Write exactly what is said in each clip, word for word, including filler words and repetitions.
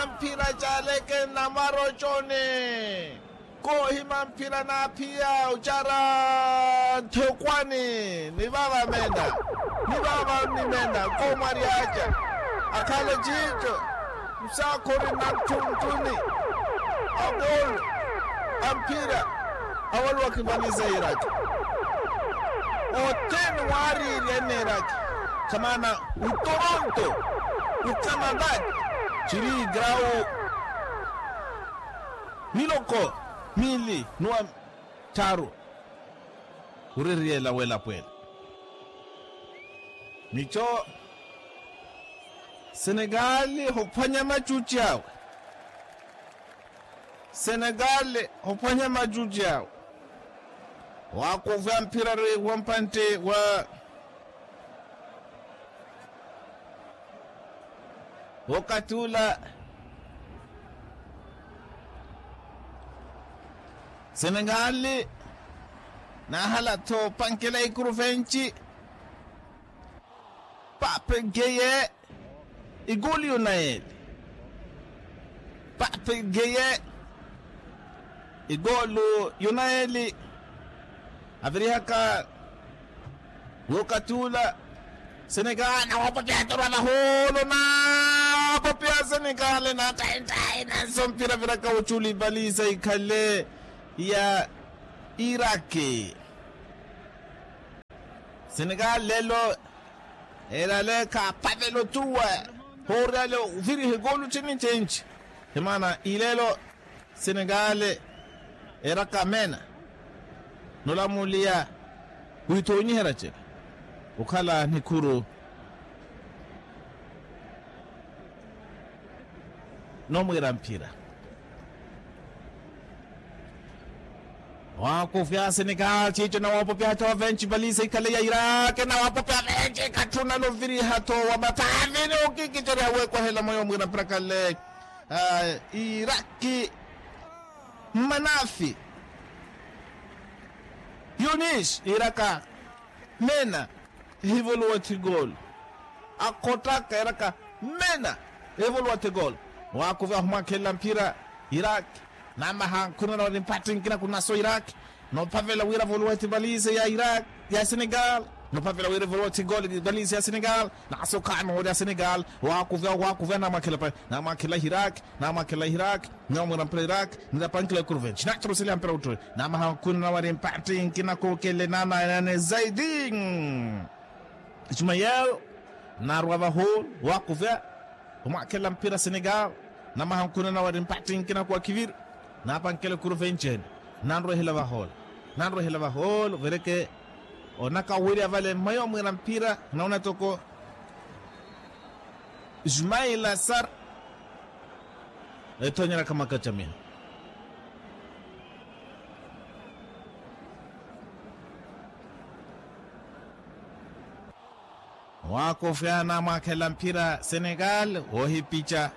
Mphira caleke nnamara oconi. Koohima mphira naaphiya ocara nthokwani. Ni vava mena, ni vava nnimena koomwaryaca. Akhale ciico, musaakhuri na nthunthuni. Akoolo a mphira awaluwa khivaniza iraki. Othene waariirya enneeraki. Khamana utoronto, ukanada, ciri grau miloko miili nuwa tharu. Uririyela welapwela mico. Senegali hophwanya macuci awe. Senegali hophwanya macuci awe. Waakuvya mphira ri wampantte wa wokati ula. Senegali naahala-tho opankela ikuru venci. Pape geye. Igolu yunayeli. Pape geye. Igolu yunayeli. Avirihaka wokati ula. Senegali nawapopya atorwa vaholo nawapopya senegali na taitaina nsompira viraka oculi balisa ikhale ya iraki. Senegali lelo erale khaapavela otuwa. Hoorale oviriha ekolu cini cenci. Himana ilelo senegali eraka mena nolamuliya withoonyiherya cela okhala nikhuru. Nomwiira mphira. Waakufya senegali ciico nawapopya hata wavenci valisa ikhale ya iraki nawapopya venci ikhatthuna loviriha tho wa mathavini okikicerya wekwahela moyo omwiira mpira khale. Iraki mmanafi yunis iraka mena. Ehivuluwa thigolo akhottaka eraka mena. Ehivuluwa thigolo wakuvi ahumwakhelela mphira. Iraki namaha nkhunana wari mpatthi nkina kunaso iraki. Nophavela wira vuluwa thivalize ya iraki ya senegal. Nophavela wira vuluwa thigolo valize ya senegal. Naso khano wari ya senegal wakuvi awo wakuvi anamwakhela pa namwakhela hiraki. Namwakhela hiraki namwira mpira hiraki. Nirapankila kuruventi natorosele ya mpira utturi namaha nkhunana wari mpatthi nkina kokele nananene zaidi. Ismael narwa vahulu wakuvya omwakhela mpira senegal. Namaha nkhunana wari mpatthi nkina kuwakiviri napankela ekuru vencene. Nanrwehela vahulu nanrwehela vahulu vereke onaka wirya vale mmayi omwira mpira. Naona toko ismail asar ethonyeraka makacamina. Waakofya namwakhela mphira senegal woohipica.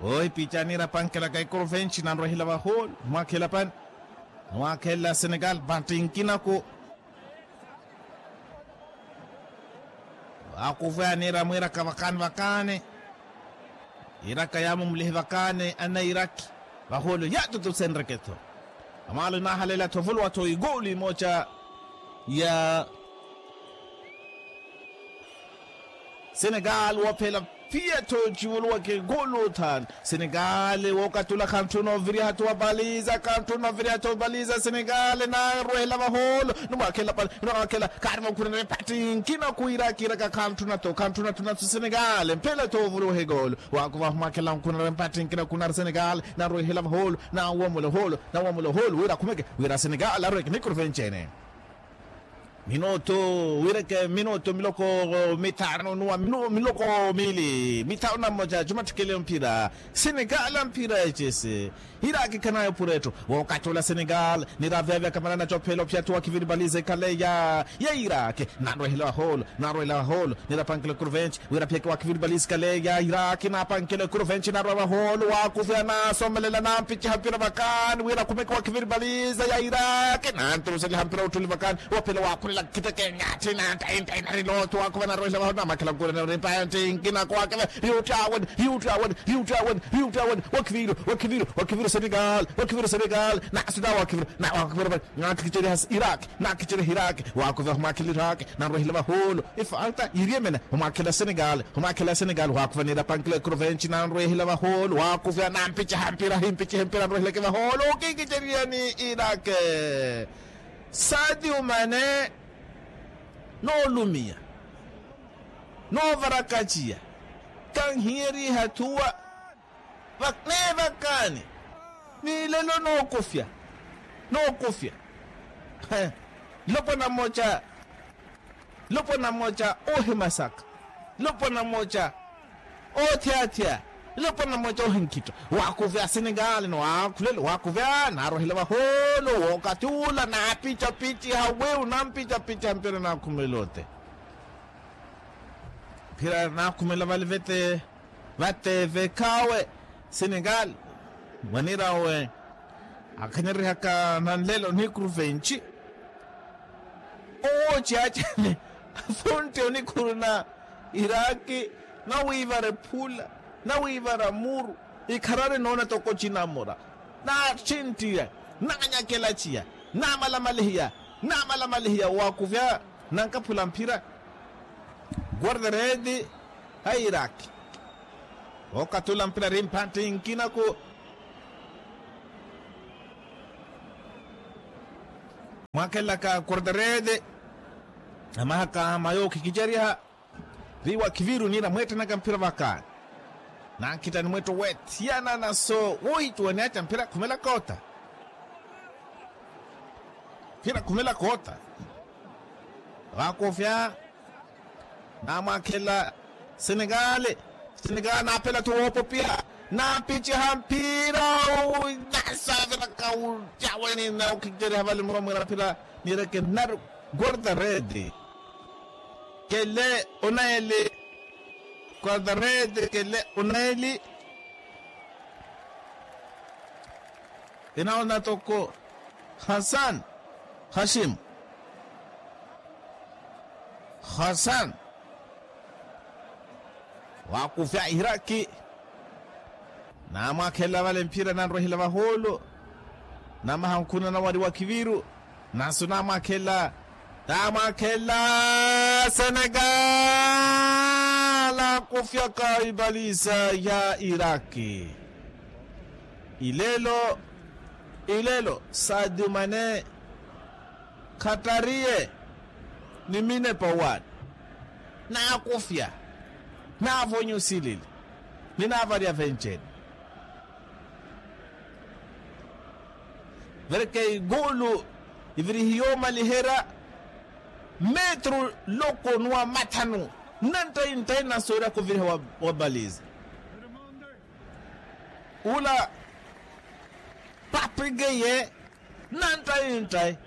Woohipica niira pankhelaka ikuru venci nanrwehela vahulu mwakhela pani. Mwakhela senegal vantti nkinaku. Waakuvwaya niira mwiiraka vakaani vakaani. Iraka yaamumulihe vakaani anairaki vahulu yaatutusenreke-tho. Amaalo inaahaleela-tho ovuluwa-tho ikoolu imooca ya senegal woophela phiya-tho ocivuluwaka ikoolu othaani. Senegal wookatula khantthuna oviriha-tho wa baliza khantthuna oviriha-tho wa baliza senegal naarwehela vaholo. Nimwakhela pale nimwakhela khaari vankhunana epatthi nkina kuwira kiiraka khantthuna-tho khantthuna-tho naso senegal mphela-tho ovuluweha ikoolo. Waakuva humwakhela vankhunana epatthi nkina kunari senegal naarwehela vaholo naawamula oholo naawamula oholo wira akhumeke wira senegal arweke nikuru venci-ene. Minutu wireke minutu miloko mithanu nuwa miloko miili mithanu na mmoja jumattikele mphira. Senegal mphira ecese hiraki khanayo pura etthu. Wookatula senegal niraveavya kamanana cophela ophyattu wa kiviri baliza ikhaleya ya iraki. Nanrwehela vaholo nanrwehela vaholo nirapankela kuruventi wira phiyeke wa kiviri baliza ikhaleya ya iraki napankela kuruventi narwa vaholo waakuvya nasomelela nampiciha mpira vakaani wira akhumeke wa kiviri baliza ya iraki nanturuseliha mpira utthuli vakaani. Wophela waakhule Nakhitekenya atthi na ntainntai nari looto waakhuva narwehela vahona namwakhela nkuulana ori mpanti nkina koowakhela. Yuutti aweni, yuutti aweni, yuutti aweni, yuutti aweni. Wakhiviru, wakhiviru, wakhiviru senegal, wakhiviru senegal. Naasuta wakhiviru, naakhiviru vale. Naakhicerya hasi iraki, naakhicerya hiraki. Waakhuva humwakhela iraki, nanrwehela vahuulu. Ifalta yiriyemene humwakhela senegal, humwakhela senegal waakhuva niira pankila ekrovenci nanrwehela vahuulu waakhuva nampiceha mpira himpicihe mpira nrweheleke vahuulu. Okikiceriyani iraki. Sati umane noolumiya, noovarakaciya, kanhiyeriha thuwa. Neevakaani ni lelo nookufya, nookufya. Lopwana mmoca, lopwana mmoca oohimasaka, lopwana mmoca oothiyathiya, lopwana mmoca oohinkitta. Waakuvya asenegali ni waakhulelo waakuvya naarohela vahoolo wookathi ula naapicapici hawiu nampicapici hampira naakhumela ote. Mphira naakhumela vale vete, vate vekhawe senegali. Mwanirawe akhanyeryehaka nanlelo nikuru venci. Owo ciyaacene afuntte onikhuru na iraki, nawiivara ephula, nawiivara muru, ikharari noona toko cinamura, naatthinttiya, naanyakela ciya, namalamalihiya, namalamalihiya waakuvya nankaphula mphira. Guarda redi a iraki. Ookatula mpira ri mphantti nkinaku. Mwaakhelaka guarda redi. Amahaka mayo okhikiceriha. Ri wakhiviru niira mweettanaka mphira vakaani. Nankhitta ni mwetto weetthiyana naso wohittuwa ni aca mphira khumela koota. Mphira khumela koota. Waakofya. Naamwaakhela senegali. Senegali naapela-tho woopopiha. Naapiciha mphira. Nasaviraka ucaweni naokhicereha vale muromwira mphira. Niireke nari guarda redi. Kele onaili. Guarda redi kele onaili. Inaona toko hasan. Hashim. Hasan. Waakufya ihiraki. Naamwaakhela vale mphira nanrwehela vahoolo. Namaha nkhuna nawari wakhiviru. Nasu naamwaakhela. Naamwaakhela senegal akufyaka ipalisa ya iraki. Ilelo ilelo sadio mane khatariye ni minepa owaani. Naakufya. Naavonya osilili. Ni naavarya venceni. Vereke igulu ivirihiye omaliherya metru loko ni wa mathanu. Nnanttayi nttayi nasoorya kuviriha wa baliza. Ula papigeye nnanttayi nttayi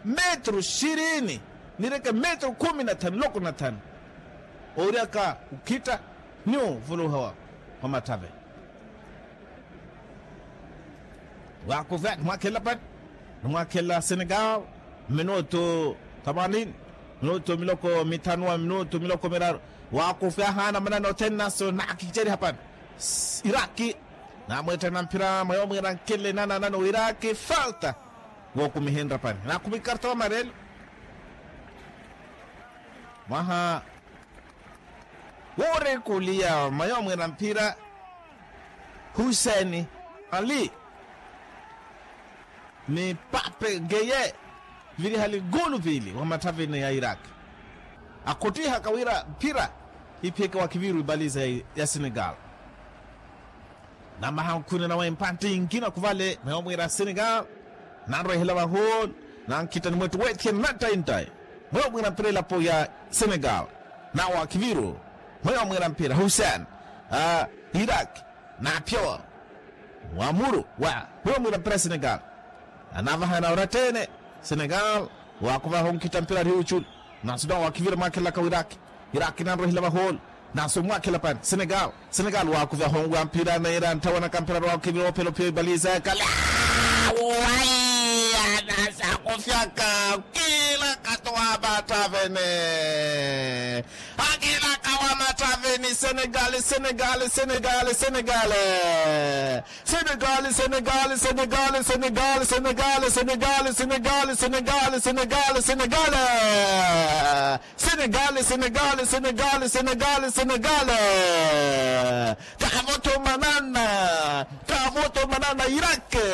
metru xirini nireke metru khumi na thanu loko na thanu. Ooriyaka ukhitta ni ovuluha wa matthave. Waakufya nimwaakhelela pani? Nimwaakhelela senegal. Minutu thamanini. Minutu miloko mithanu wa minutu miloko miraru. Waakufya ahaana manani othene naso naakiceriha pani. Iraki. Naamweetthana mphira mwa yoomwiira nkele nananano wa iraki falta. Wookumihenrya pani naakhumi karta wa marelo. Mwaha woorekuliya mwa yoomwiira mphira. Huseni ali ni pape geye. Viriha ligulu vili wa mathavini ya iraki. Akhuttihaka wira mphira iphiyeke wakhiviru ibaliza ya senegal. Namaha nkhuna nawe mpantti nkina khuvale mweyo mwiira senegal. Nanrwehela vahu nankhitta ni mwettu weethiya nnanttayi nttayi. Mweyo mwiira mphira elapo ya senegal. Nawe wakhiviru mweyo mwiira mphira husen iraki. Naaphiya wa muru wa huyo mwira mpira senegal. Anaavahana orattene senegal. Waakuvaha onkhitta mpira ari huchulu. Nasu nawo wakhivira mwaakhelaka wiraki. Iraki nanrohela vahoolo. Nasu mwakhela pani senegal. Senegal waakuvaha onwa mpira naira ntthawanaka mpira ari wakhivira ophela ophiya ibaliza yakale. Wai anasaku. Fyaka kiilaka tu wa mattaveni. Akiilaka wa mattaveni senegali senegali senegali senegali. Senegali senegali senegali senegali senegali senegali senegali senegali senegali senegali senegali. Senegali senegali senegali senegali senegali. Kaavotomanana kaavotomanana iraki.